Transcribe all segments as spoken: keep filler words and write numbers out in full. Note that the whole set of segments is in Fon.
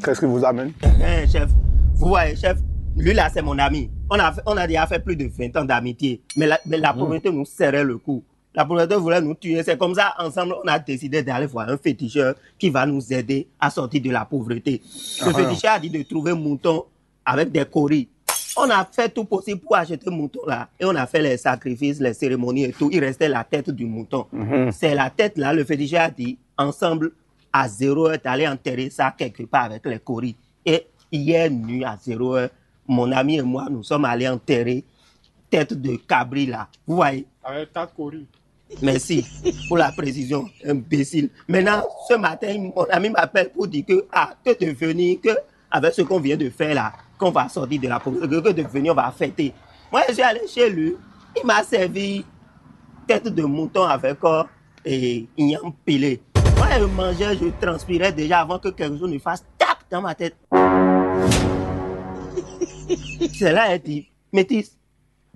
Qu'est-ce qui vous amène? Hein, chef, vous voyez, chef, lui là, c'est mon ami. On a, fait- on a déjà fait plus de vingt ans d'amitié. Mais la, mais la pauvreté nous serrait le cou. La pauvreté voulait nous tuer. C'est comme ça, ensemble, on a décidé d'aller voir un féticheur qui va nous aider à sortir de la pauvreté. Le féticheur a dit de trouver mouton avec des coris. On a fait tout possible pour acheter mouton là et on a fait les sacrifices, les cérémonies et tout. Il restait la tête du mouton. C'est la tête là, le féticheur a dit, ensemble, à zéro heure, d'aller enterrer ça quelque part avec les coris. Et hier nuit à zéro heure, mon ami et moi, nous sommes allés enterrer tête de cabri là. Vous voyez? Avec quatre coris. Merci pour la précision, imbécile. Maintenant, ce matin, mon ami m'appelle pour dire que, ah, que devenir, que avec ce qu'on vient de faire là, qu'on va sortir de la pauvreté, que devenir, on va fêter. Moi, je suis allé chez lui, il m'a servi tête de mouton avec euh, et ignan pilé. Moi, je mangeais, je transpirais déjà avant que quelque chose ne fasse tac dans ma tête. C'est là, elle dit, métis,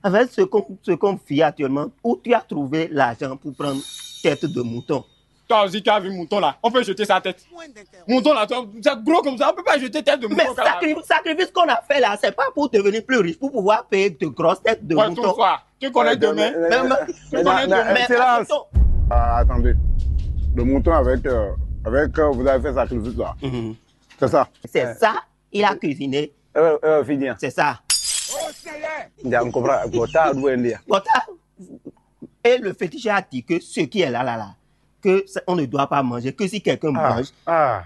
avec ce qu'on ce qu'on vit actuellement, où tu as trouvé l'argent pour prendre tête de mouton? Toi aussi, tu as vu mouton là. On peut jeter sa tête. Mouton là, toi, c'est gros comme ça. On peut pas jeter tête de mouton. Mais sacri- sacrifice qu'on a fait là, c'est pas pour devenir plus riche, pour pouvoir payer de grosses têtes de Ouais, mouton. Toi, tu connais demain. Mais- mais- Tu connais demain. Excellence. Attends. Ah, attendez. Le mouton avec, euh, avec euh, vous avez fait sacrifice là. C'est ça. Il a cuisiné. Euh, euh, Fidien. C'est ça. Ndia, on comprend. Bota, d'où elle est. Bota. Et le féticheur a dit que ce qui est là, là, là, que ça- on ne doit pas manger, que si quelqu'un mange, Ah.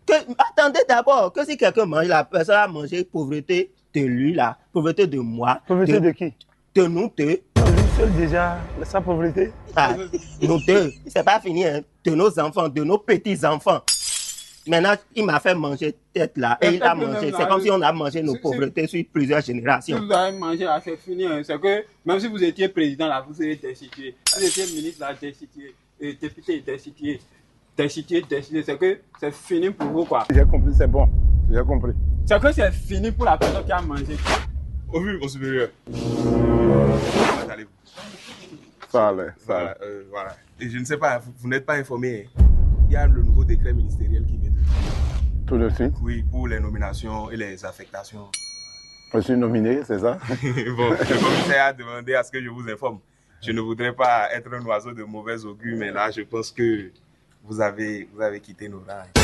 Que, attendez d'abord, que si quelqu'un mange, la personne a mangé pauvreté de lui, là, pauvreté de moi. Pauvreté de qui? De nous deux. Lui seul déjà, sa pauvreté. Ah, nous deux, c'est pas fini, hein. De nos enfants, de nos petits-enfants. Maintenant, il m'a fait manger tête là et il a mangé. C'est comme si on a mangé nos pauvretés sur plusieurs générations. Si vous avez mangé là, c'est fini, hein. C'est que même si vous étiez président là, vous serez destitué. Si vous étiez ministre là, destitué. Et député, destitué. Destitué, destitué. C'est que c'est fini pour vous, quoi. J'ai compris, c'est bon. J'ai compris. C'est que c'est fini pour la personne qui a mangé. Au vu, mon supérieur. Comment allez-vous? Ça allait, ça allait. Voilà, euh, voilà. Et je ne sais pas, vous, vous n'êtes pas informé, hein. Il y a le nouveau décret ministériel qui vient de... Tout de suite. Oui, pour les nominations et les affectations. Je suis nominé, c'est ça? Bon, le commissaire a demandé à ce que je vous informe. Je ne voudrais pas être un oiseau de mauvais augure, mais là, je pense que vous avez, vous avez quitté nos rangs.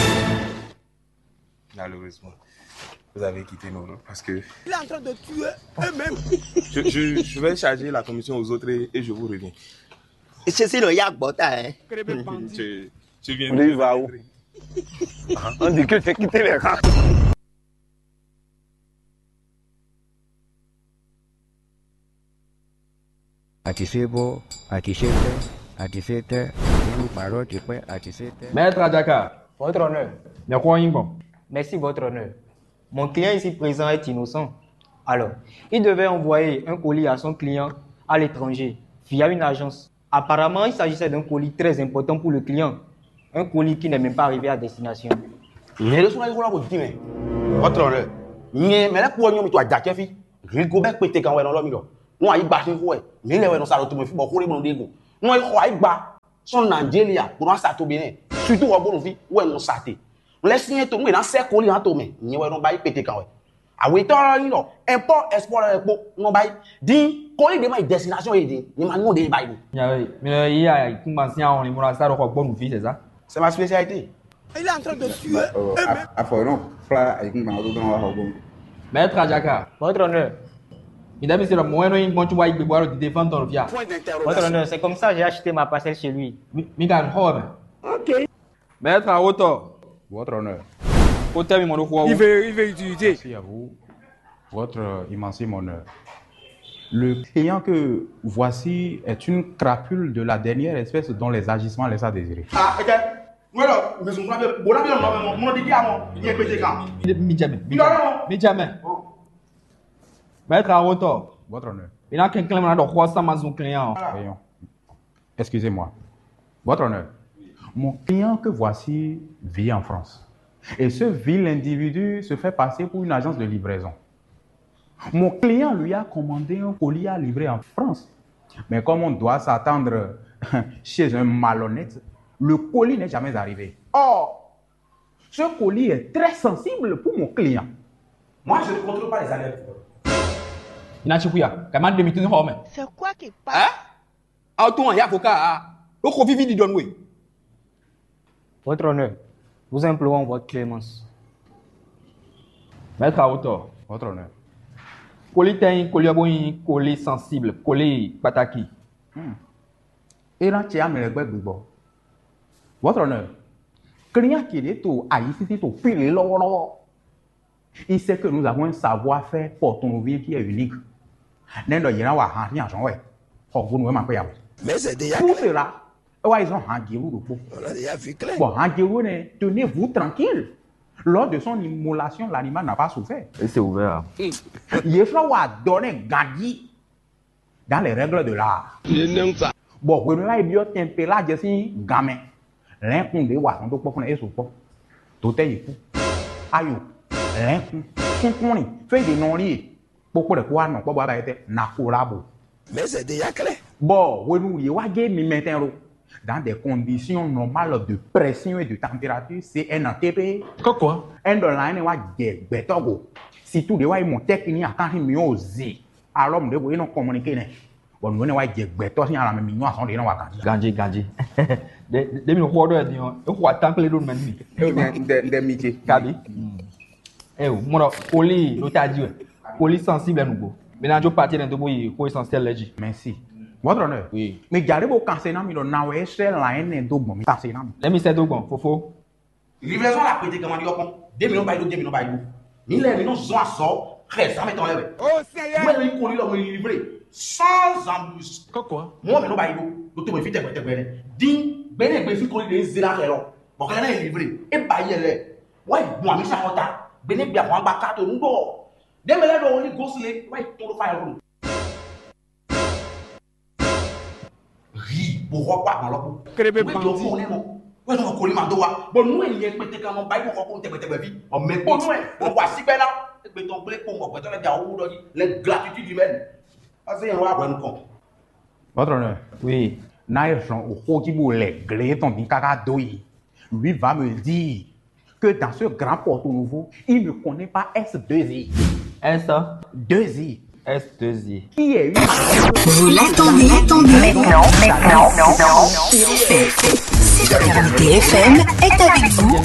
Malheureusement, vous avez quitté nos rangs parce que... Il est en train de tuer eux-mêmes. Je, je, je vais charger la commission aux autres et, et je vous reviens. Et c'est le Yagbota, hein. Tu, tu viens de... On dit, va où? On dit que tu as quitté les rangs. Akisebo, akisete, akisete, ibu paro tipe, akisete. Maître Adjaka. Votre honneur. Merci, votre honneur. Mon client ici présent est innocent. Alors, il devait envoyer un colis à son client à l'étranger via une agence. Apparemment, il s'agissait d'un colis très important pour le client. Un colis qui n'est même pas arrivé à destination. Nyɛ ɖésú ná yi xó ná xo dín mɛ. Votre honneur. Nyɛ mɛ lɛ́ kú ɔ́ nyɔ́ mi to ajacɛ́ fí. Rigobɛ́ kpete kan wɛ nɔ lɔ mi ɖɔ. Nú ayǐgba xixo wɛ, mǐ lɛ wɛ nɔ sa ɖo tomɛ fí bɔ xó ɖé mɔ ɖé go. Nú e xɔ ayǐgba sɔ́ Nigeria bó ná sa to Benin, surtout xɔ bónú fí wɛ nɔ sa te. Lɛ́ syɛ́n to nú è nǎ sɛ́ koli hán to mɛ, nyɛ wɛ nɔ ba yi kpete kan wɛ. Awětɔ́ ɔ́ nyí ɖɔ import export lɛ́ɛ kpó nɔ ba yi. Din koli ɖé ma yi destination yi din, nyɛ ma nyɔ ɖé ba yi ɖo. Nya ɔ́, mi nɔ yí ayǐkúngban sín ahɔnlin bó ná sá ɖo xɔ gbɔ́ nǔví, c'est ça? C'est ma spécialité. Il est en train de suer. Afɔ yɛ nɔ kplá ayǐkúngban ɔ́ ɖó gán wá xɔ gbɔ́. Maître Adjaka. Votre honneur. Mi dá mi se ɖɔ mɔ̌ wɛ nɔ nyi gbɔn cóbɔ ayǐ gbegbe alo dide fán tɔn ɖo fia. Votre honneur, c'est comme ça j'ai acheté ma parcelle chez lui. Mi mi ka xɔ wɛ mɛ. Ok. Maître Awotɔ. Votre honneur. Kó tɛ́ mi mɔ ɖó xó ɔ́ wú. Il veut, il veut utiliser. Merci à vous. Votre immense honneur. Le client que voici est une crapule de la dernière espèce dont les agissements laissent à désirer. Ah, ok. Voilà, mais on va, bon, là, on va, on va dire à moi, il y a pété quand. Mi jɛ mɛ. Mi jɛ mɛ. Maître Awotɔ. Votre honneur. Mi ná kɛnklɛ́n mɔ ná ɖɔ xó ɔ́ sín amazon client ɔ́. Voilà. Excusez-moi. Votre honneur, mon client que voici vit en France. Et ce vil individu se fait passer pour une agence de livraison. Mon client lui a commandé un colis à livrer en France. Mais comme on doit s'attendre chez un malhonnête, le colis n'est jamais arrivé. Or, Ce colis est très sensible pour mon client. Moi, je ne contrôle pas les alertes. Inachipuya, kama de mi tun xɔ mɛ. C'est quoi qui passe? Autant ya avocat, loko vivi di donwe. Votre honneur, nous implorons votre clémence. Maître à hauteur, votre honneur. Colis tɛn, colis ɔbɔnyi, colis sensible, colis pataki. Ena tse amɛ lɛ gbɛ gbigbɔ. Votre honneur, client qui est au ayisisi to pile lɔwɔlɔwɔ. Il sait que nous avons un savoir-faire portonnovien qui est unique. Nɛn ɖɔ yɛn na wa han hin azɔn wɛ. Xɔ gonu wɛ ma kpɛ ya wɛ. Mais c'est déjà Pour cela, ewa ils ont han jeru ɖokpo. On a déjà vu clair. Bon, han jeru ne, tenez-vous tranquille. Lors de son immolation, l'animal n'a pas souffert. Et c'est ouvert. Yeflɔ wa dɔ ne ganji dans les règles de l'art. Je n'aime ça. Bon, hwenu la yi biɔ tempela jɛ sin gan mɛ. Lɛnkun ɖe wa sɔn ɖo kpɔkpɔ e sukpɔ. Dotɛ yi ku. Ayo. Lɛnkun. Sunkun ni. Fɛn de nɔ li. Kpokpo ɖe ko wa nɔ kpɔ bɔ aba yɛ tɛ na ko la bo. Mais c'est déjà clair. Bon, hwenu ye wa ge mi mɛtɛn lo. Dans des conditions normales de pression et de température, c'est un A T P. Kɔkɔ. Un dollar ne wa jɛ gbɛtɔ go. Surtout de wa yi mɔ tɛkini akan hin mi o zi. Alors mu de bo e nɔ communiquer nɛ. Bon, nous ne wa jɛ gbɛtɔ sin ala mi nyɔ azɔn de nɔ wa ganji. Ganji, ganji. De mi xɔ ɖɔ ɛdi ɔ, e xɔ atan kple ɖo mɛ ni. Nde nde mi ce. Kabi. Eh, mɔdɔ, colis ɖo ta ji wɛ. Colis sensible nugbo. Mina jo parti ne do bo yi ko essentiel lɛ ji. Merci. Votre honneur. Oui. Mais jare bo kanse na mi ɖɔ na wɛ sɛ la ene do gbɔn mi kanse na mi. Let me settle gbɔn, fofo. Livraison la pété comment dire. Deux millions bayi deux millions bayi. Mille millions sont à sort. Très ça m'étonne. Oh Seigneur. Moi je colis là me livrer sans embûche. Kɔkɔ. Moi mais non bayi. Donc tu me fais te te te. Din bene be fi colis de zéro à zéro. Bon quand il est livré et bayi elle. Ouais, bon ami ça conta. Bene bien bon ba carte nous do. Deux millions de on gosse les ouais tout le faire. Ri bó xɔ kó agban lɔ kó. Kéré bɛ Wé dɔ fún ne mɔ. Wé dɔ koli ma dó wa. Bɔ nú ènìyàn kpete kan nɔ ba yí bó xɔ kó tɛgbɛtɛgbɛ ví. Ɔ mɛ kpó nú ɛ. Ɔ wá sí bɛ ná. Egbè tɔn gblé kpó mɔ gbɛtɔ lɛ bia owó dɔ yí. Lɛ gratitude humaine. Ase yẹn wá hwɛ nukɔn. Votre honneur. Oui. Na e zɔn o xo ji bo lɛ gle tɔn din kaka do yi. Lui va me dire que dans ce grand Porto Nouveau, il ne connaît pas S deux I. S, Deux I. S deux I. Qui est une Vous l'attendez, attendez. Maintenant, maintenant, maintenant. T F M est avec vous.